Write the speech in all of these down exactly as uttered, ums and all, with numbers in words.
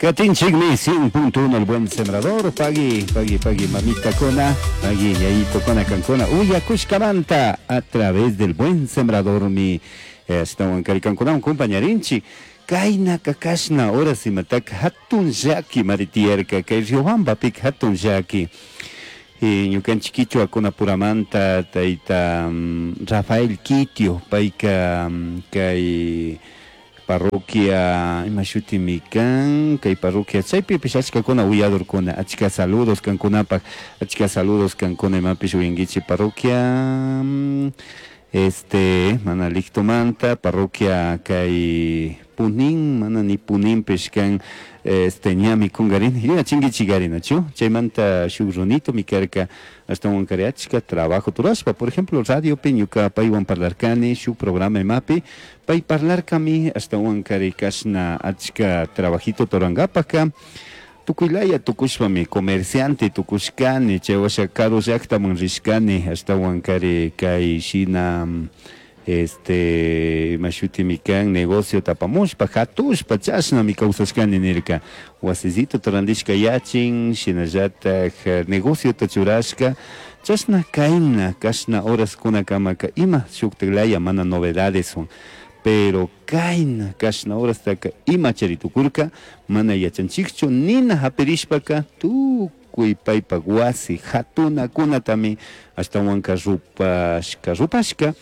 Katinchikmi cien punto uno El Buen Sembrador, pagui, pagui, pagui, mamita kona, pagui, yayito kona kankuna, uyakushkamanta a través del Buen Sembrador mi ashtawan kari kankunawan compañarinchik. Kaynaka kashna horas imataka hatun llaki mari tiyarka, kay Riobambapika hatun llaki. Ñukanchik kichwakunapuramanta tayta Rafael Quitio, payka kay parroquia ima shutimi kan, kay parroquia chaypipish achkakuna uyadorkuna, achka saludos kankunapaj, achka saludos kankuna imapish uyankichik parroquia este mana Lictomanta, parroquia kay Punin, mana ni Puninpish kan, este ñami kungarini, yuyachinkichik nachu, chaymanta shuk runito mi karka, ashtawan kari achka trabajo turashpa, por ejemplo radiopi ñuka paywan parlarkani shuk programa imapi, pay parlarkami ashtawan kari kashna achka trabajito turankapaka, tukuylaya tukushpami comerciante tukushkani, chay washa karu llaktaman rishkani, ashtawan kari kay shina este ima shutimi kan negocio tapamushpa hatushpa chashnami kawsashkani nirka, wasisito randishka yachin, shinallatak negociota churashka, chashna kayna kashna horaskunakamaka ima shuktiklaya mana novedadeswan, pero kayna kashna horastaka ima chari tukurka mana yachanchikchu, nina hapirishpaka tukuy paypak wasi hatunakunatami ashtawanka rupashka rupashka,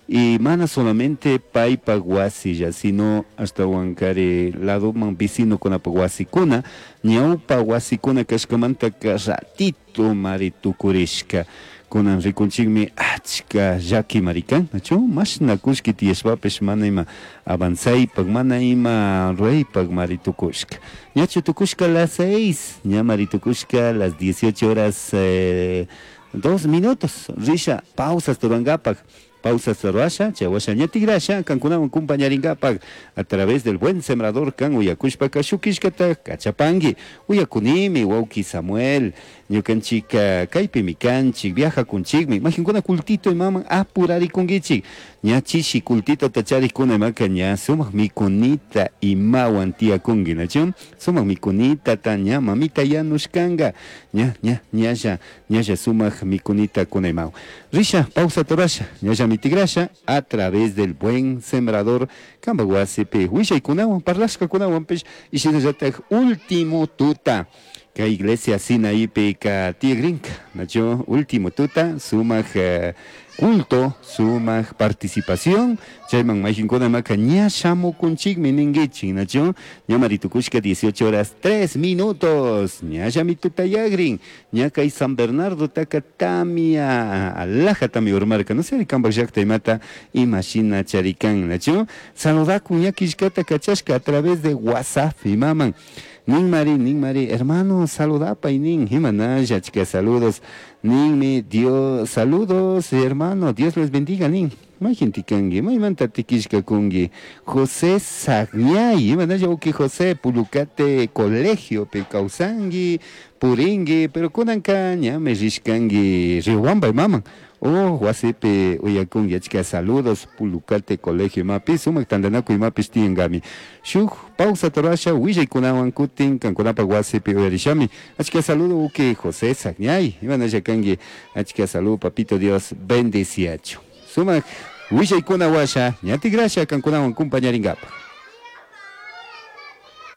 y mana solamente paypak wasilla, sino ashtawankari ladoman vecinokunapak wasikuna, ñawpa wasikuna kashkamantaka ratito mari tukurishka. Kunan rikunchikmi achka llaki mari kan, nachu mashna kullki tiyashpapish mana ima avanzaypak, mana ima ruraypak mari tukushka. Ñachu tukushka las seis, ña mari tukushka las dieciocho horas eh, dos minutos, risha pausas turankapak, pausas rurasha, chay washa ña tigrasha, kankunawan compañarinkapak a través del Buen Sembrador kan uyakushpaka shukishkata kachapanki, uyakunimi wawki Samuel, ñukanchik kaypimi kanchik, viajakunchikmi, majinkuna kultito imaman apurarikunkichik, ña chishi kultito tacharikuna imaka ña sumak mikunita imawan tiyakunki, nachu sumak mikunita ta ña mamita yanushkanka, ña ña ñalla ñalla sumak mikunita kuna imawan. Risha pausa torasha, ñalla mitigrasha a través del Buen Sembrador kanpak wasipi willaykunawan parlashkakunawanpish y shinallatak último tuta kay iglesia Sinaípika tiyakrinka, nachu último tuta sumak eh, culto, sumak participación, chayman mayqinkuna maka ña shamukunchikmi ninkichik, nachu ña maritukushka dieciocho horas tres minutos, ñallami tutayakrin, ña kay San Bernardo taka tamia alajatami urmarka, no sé kanpak llakta imata imashina charikan, nachu saludakun ña killkata kachashka a través de WhatsApp imaman. Nin mari, nin mari, hermano, saludapay nin, himanalla, chica, saludos, ninmi, Dios, saludos, hermano, Dios les bendiga, nin. Mayqinti kanki, maymanta tikishka kunki, José Sagñay, imanalla uki José, Pulucate colegio pi kawsanki, purinki, pero kunanka ñami rishkanki Riobamba imaman. Oh, wasipi uyakunki, achka saludos, Pulucate colegio imapi, sumak tantanakuy imapish tiyankami. Shuk pausa torasha, willaykunawan kutin, kankunapak wasipi uyarishami. Achka saludo uki José Sagñay, imanalla kanki, achka saludo, papito Dios, bendeciachu. Sumak willaykuna washa, ña tigrasha kankunawan compañarinkapak.